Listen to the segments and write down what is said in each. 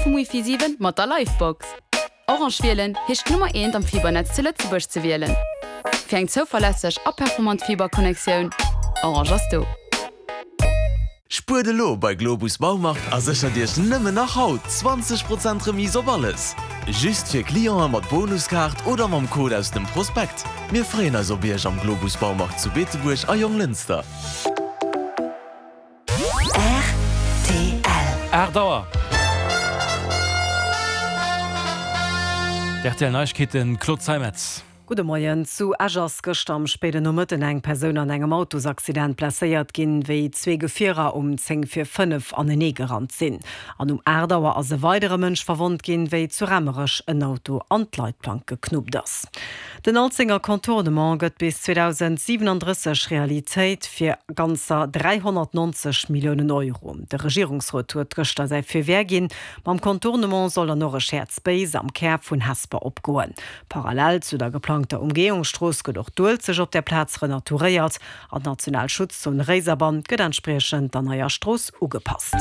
vum Wifi 7 mat der Livebox. Orange wielen heescht d'Nummer eent am Fibernetz zu Lëtzebuerg ze wielen. Fir eng zouverlässeg a performant Fiberconnectioun, Orange ass do. Spuert elo bei Globus Baumarkt a séchert Iech nëmmen nach haut 20 Prozent Remise op alles! Just fir Clienten mat Bonuskaart oder mam Code aus dem Prospekt. Mir freeën eis op Iech am Globus Baumarkt zu Beetebuerg a Jonglënster. Rtl. 8 Auer. D'RTL Neiegkeeten, Claude Zeimetz. Gudde Moien. Zu Esch ass gëschter am spéiden Nomëtten eng Persoun an engem Autosaccident blesséiert ginn, wéi zwee Gefierer um 10 vir 5 anenee gerannt sinn. An um 8 Auer ass e weidere Mënsch verwonnt ginn, wéi zu Raemerech en Auto an d'Leitplank geknuppt ass. Den Alzenger Contournement gëtt bis 2037 Realitéit, fir ganzer 390 Milliounen Euro. De Regierungsrot huet gëschter säi Feu vert ginn. Mam Contournement soll dann och e Shared Space am Kär vun Hesper opgoen. Parallel zu der geplangter Umgehungsstrooss gëtt och d'Uelzecht op där Plaz renaturéiert an d'national Schutzzon Réiserbann gëtt entspriechend der neier Strooss ugepasst.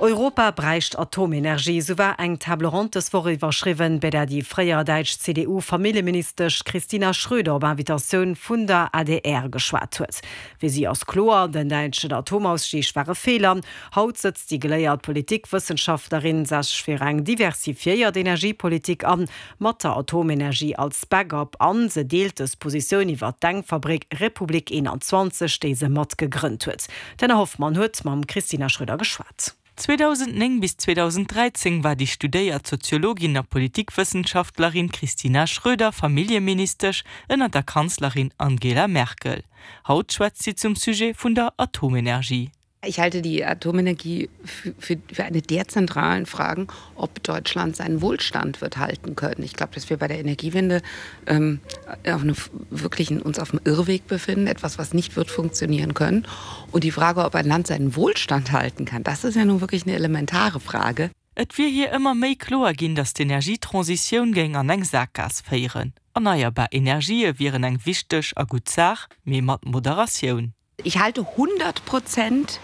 Europa bräicht Atomenergie, sou war eng Table ronde dës Woch iwwerschriwwen, bei där déi fréier däitsch CDU-Familljeministesch Kristina Schröder op Invitatioun vun der adr geschwat huet. Fir si ass kloer, den däitschen Atomausstieg war e Feeler. Haut sëtzt déi geléiert Politikwëssenschaftlerin sech fir eng diversifiéiert Energiepolitik an, mat der Atomenergie als Backup an se deelt dës Positioun iwwer d'Denkfabrik Republik 21, déi se mat gegrënnt huet. D'Anna Hoffmann huet mam Kristina Schröder geschwat. 2009 bis 2013 war déi studéiert Soziologin a Politikwëssenschaftlerin Kristina Schröder Familljeministesch ënner der Kanzlerin Angela Merkel. Haut schwätzt si zum Sujet vun der Atomenergie. Ich halte die Atomenergie für, für, für eine der zentralen Fragen, ob Deutschland seinen Wohlstand wird halten können. Ich glaube, dass wir bei der Energiewende ähm, auf einem, wirklich uns auf dem Irrweg befinden, etwas, was nicht wird funktionieren können. Und die Frage, ob ein Land seinen Wohlstand halten kann, das ist ja nun wirklich eine elementare Frage. Et wier hir ëmmer méi kloer ginn, datt d'Energietransitioun géing an eng Sakgaass féieren. Erneierbar Energië wieren eng wichteg a gutt Saach, mee mat Moderatioun. Ich halte 100 Prozent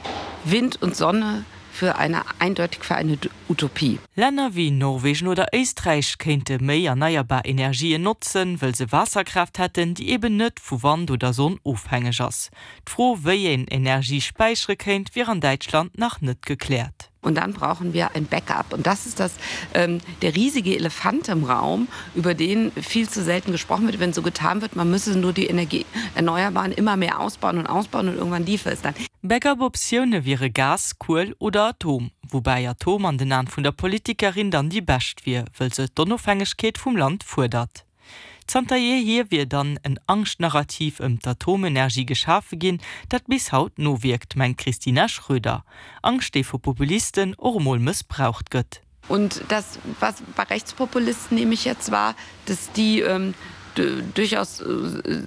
Wind und Sonne für eine eindeutig für eine Utopie. Länner wéi Norwegen oder Éisträich kéinte méi erneierbar Energien notzen, wëll se Waasserkraaft hätten, déi eben net vu Wand oder Sonn ofhängeg ass. D'Fro, wéi een Energie späichere kéint, wier an Däitschland nach net gekläert. Und dann brauchen wir ein Backup. Und das ist das, ähm, der riesige Elefant im Raum, über den viel zu selten gesprochen wird, wenn so getan wird, man müsse nur die Energie erneuerbaren immer mehr ausbauen und ausbauen und irgendwann liefere es dann. Backup-Optioune wiere Gas, Kuel oder Atom, woubäi Atom an den Aen vun der Politikerin dann déi bescht wier, wëll se d'Onofhängegkeet vum Land fuerdert. Zanter jeehier wier dann en Angschtnarrativ ëm d'Atomenergie geschafe ginn, dat bis haut nowierkt, mengt d'Kristina Schröder. Angscht, déi vu Populisten och emol mëssbraucht gëtt. Und das, was bei Rechtspopulisten nehme ich jetzt wahr, dass die durchaus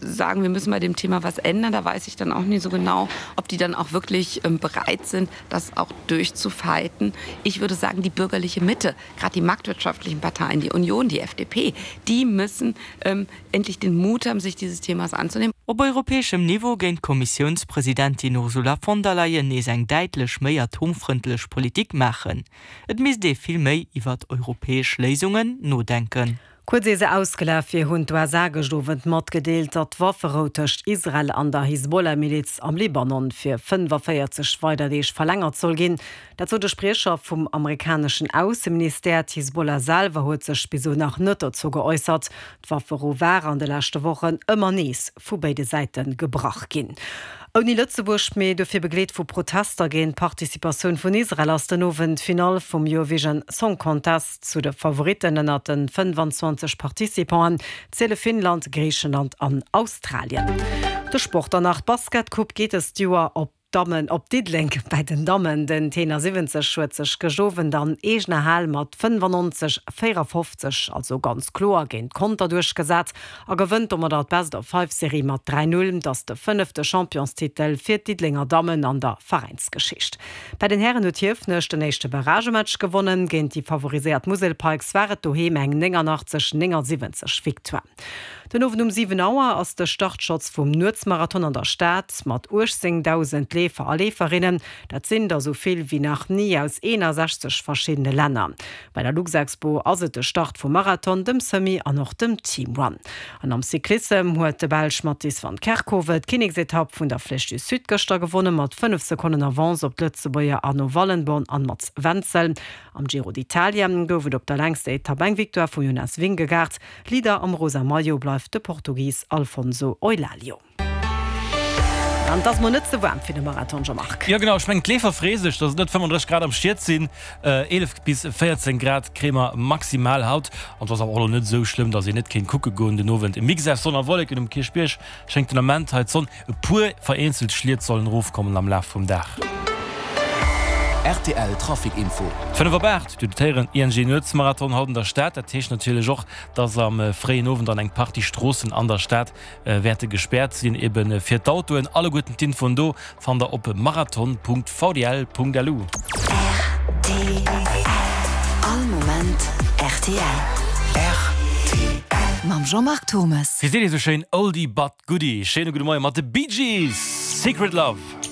sagen, wir müssen bei dem Thema was ändern. Da weiß ich dann auch nie so genau, ob die dann auch wirklich bereit sind, das auch durchzufighten. Ich würde sagen, die bürgerliche Mitte, gerade die marktwirtschaftlichen Parteien, die Union, die FDP, die müssen ähm, endlich den Mut haben, sich dieses Themas anzunehmen. Op europäeschem Niveau géing d'Kommissiounspresidentin Ursula von der Leyen nees eng däitlech méi atomfrëndlech Politik maachen. Et misst ee vill méi iwwert europäesch Léisungen nodenken. Kuerz ier se ausgelaf wier, hunn d'USA gëscht Owend matgedeelt, datt d'Wafferou tëscht Israel an der Hisbollah-Miliz am Libanon fir 45 weider Deeg verlängert soll ginn. Dat sot e Spriecher vum amerikaneschen Ausseministère. D'Hisbollah selwer huet sech bis elo nach net dozou geäussert. D'Wafferou war an de leschte Wochen ëmmer nees vu béide Säite gebrach ginn. Ouni Lëtzebuerg, mee dofir begleet vu Protester géint d'Participatioun vun Israel, ass den Owend d'Finall vum Eurovision Song Contest. Zu de Favoritten ënnert de 25 Participanten ziele Finnland, Griichenland an Australien. De Sport dann nach, D'Basketcoupe geet dëst Joer op Dammen op Diddeleng. Bäi den Dammen, den Tenor 70 huet sech gëscht Owend an eegener Hal mat 95, 54, also ganz kloer géint Conter duerchgesat a gewënnt domadder d'Best of Five Serie mat 3, 0. Et ass de fënnefte Championstitel fir d'Diddelenger Dammen an der Veräinsgeschicht. Bäi den Hären huet Hiefenech den éischte Barragematch gewonnen. Géint déi favoriséiert Musel Pikes war et doheem eng 89, 79 Victoire. Den Owend um 7 Auer ass de Startschotz vum Nuetsmarathon an der Stad mat 18.000. Leefer a Leeferinnen. Dat sinn der esou vill wéi nach ni aus 61 verschiddene Länner. Bei der Luxexpo ass et de Start vum Marathon, dem Semi an och dem Team Run. An am Cyclissem huet de Belsch Mattis van Kerkhove d'Kinneksetapp vun der Flèche du Sud gëschter gewonne mat 5 Sekonnen Avance op d'Lëtzebuerger Arno Wallenborn an Mats Wenzel. Am Giro d'Italia gouf et op der längster Etapp eng Victoire vum Jonas Vingegaard. Leader am rosa Maillot bleift de Portugis Alfonso Eulalio. An et ass mol net ze waarm fir de Marathon, Jean-Marc. Jo genau, ech mengen d'Leefer freeë sech, dass et net 35 Grad am Schiet sinn. 11 bis 14 Grad kréie mer maximal haut. An et ass awer och elo net esou schlëmm, dass een net kéint kucke goen den Owend. E Mix aus Sonn a Wolleken um Kierchbierg schéngt den Ament hei d'Sonn. E puer vereenzelt Schliet sollen erofkommen am Laf vum Dag. Rtl Trafic Info. 5 op 8, Dir hutt et héieren, ING Nuetsmarathon haut an der Stad. Dat heescht natierlech och, dass am fréien Owend dann eng Partie Stroossen an der Stad wäerte gespäert sinn, eben fir d'Autoen. Alleguerten d'Infoen do fannt der op marathon.vdl.lu. Rtl, All Moment rtl. Rtl. Mam Jean-Marc Thommes. Wéi seet ee sou schéin, Oldie but goodie. Schéine gudde Moie mat de Bee Gees, Secret Love.